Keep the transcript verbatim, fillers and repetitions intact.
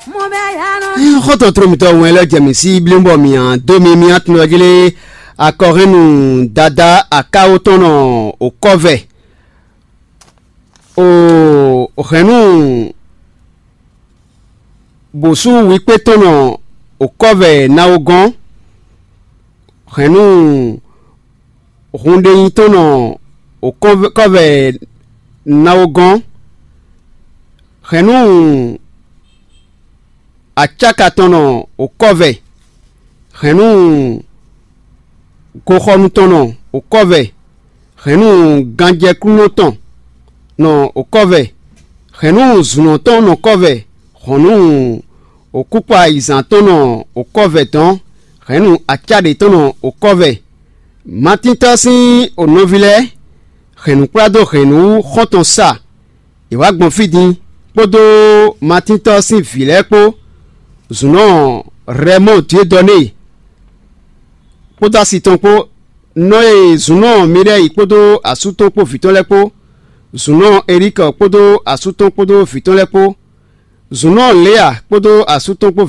Xɔ́ntɔn tló mitɔn wɛn lɛ́ jɛ mǐ sí blín bɔ mǐ dó mi mì atúnɔ́ jí lé akɔhɛ́nnu Dadá Akáwó tɔn nɔ òkɔ́vɛ o hɛ̌nnu bǒsú wíkpé tɔn nɔ òkɔ́vɛ nawogɔ́n, hɛ̌nnu hunɖeyin tɔn nɔ òkɔ́vɛ nawogɔ́n, hɛ̌nnu acáka tɔn nɔ òkɔ́vɛ, hɛ̌nnu goxɔnu tɔn nɔ òkɔ́vɛ, hɛ̌nnu ganjɛkúnɔ tɔn nɔ òkɔ́vɛ, hɛ̌nnu zǔnɔ tɔn nɔ kɔ́vɛ, hɔ̌nnu òkúkpa ayizán tɔn nɔ òkɔ́vɛ dɔn, hɛ̌nnu acáɖě tɔn nɔ òkɔ́vɛ. Matíntɔ́ sín ònɔví lɛ́ɛ, hɛ̌nnukplá dó hɛ̌nnu wú xɔ́ntɔn sa, è wǎ gbɔn fí din, kpódó Matíntɔ́ sín vǐ lɛ́ɛ kpó, zǔnɔ Rɛmɔ́ɔ Diedɔnée kpódó asi tɔn kpó, nɔ e zǔnɔ Miɖɛ́yi kpódó asú tɔn kpó vǐ tɔn lɛ́ɛ kpó, zǔnɔ Elíkɔ kpódó asú tɔn kpódó vǐ tɔn lɛ́ɛ kpó, zǔnɔ Lěa kpódó asú tɔn kpó